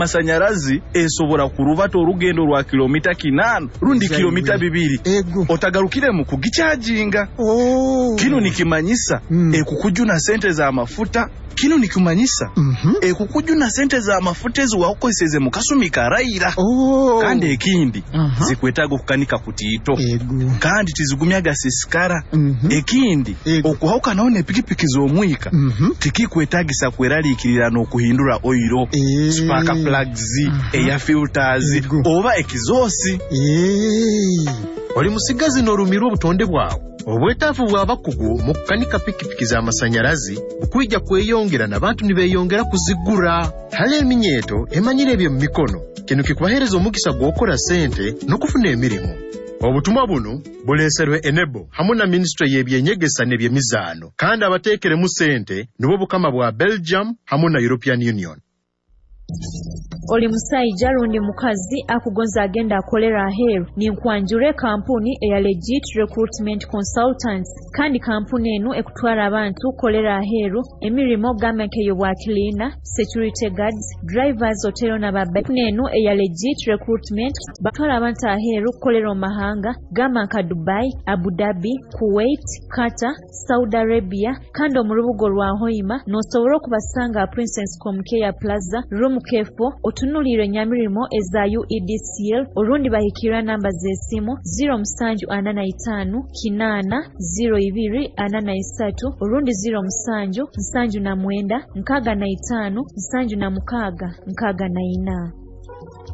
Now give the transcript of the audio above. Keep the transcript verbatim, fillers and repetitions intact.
Masanyarazi esobora kurubata orugendo rwa kilomita kinaana rundi kilomita bibiri otagarukiremu kugikyajinga. Oh. Kinu nikimanyisa Mm. ekukujuna sente z'amafuta. Kinu nikimanyisa Mm -hmm. ekukujuna sente z'amafuta ezi wakukozeseze mu kasumi karaira. Oh. Kandi ekindi, uh -huh. zikwetaaga okukanika kutiito. Ego. Kandi tizigumyaga sisikara. Mm -hmm. Ekindi, okuhawukanaho n'epikipiki z'omwika, mm -hmm. tikikwetagisa kweraliikirira n'okuhindura oiro, e. spark plugs, uh -huh. air filters, Ego. oba ekizosi. E. Oli musigazi n'orumirwa obutonde bwawe. Obwetaafu bw'abakugu mu kukanika pikipiki z'amasanyarazi bukwija kweyongera n'abantu nibeeyongera kuzigura. Hali eminyeeto emanyire eby'omu mikono, kinu kikubaheereza omukisa gw'okukora sente n'okufuna emirimu. Obutumwa bunu buleeserwe Enebo hamu na minisitule y'ebyenyegesa n'ebyemizaano, kandi abateekeremu sente nibwo Bukama bwa Belgium hamu na European Union. Oli musaija rundi mukazi akugonza agenda akolera aheeru, ninkwanjura kampuni eya Legit Recruitment Consultants. Kandi kampuni enu ekutwara abantu kukolera aheeru emirimo gamba nk'ey'obwa cleaner, security guards, drivers, otero n'ababa. Kampuni enu eya Legit Recruitment batwara abantu aheeru kukolera omu mahanga gamba nka Dubai, Abu Dhabi, Kuwait, Qatar, Saudi Arabia. Kandi omu rubuga rwa Hoima n'osobora okubasanga Princess Comcare Plaza, room K four, otunuulire enyamirimo eza U E D C L, orundi bahikirira namba z'esimu ziro musanju ana na itaano kinaana ziro ibiri ana na isatu, orundi ziro musanju nsanju na mwenda nkaaga na itaano nsanju na mukaaga nkaaga na ina.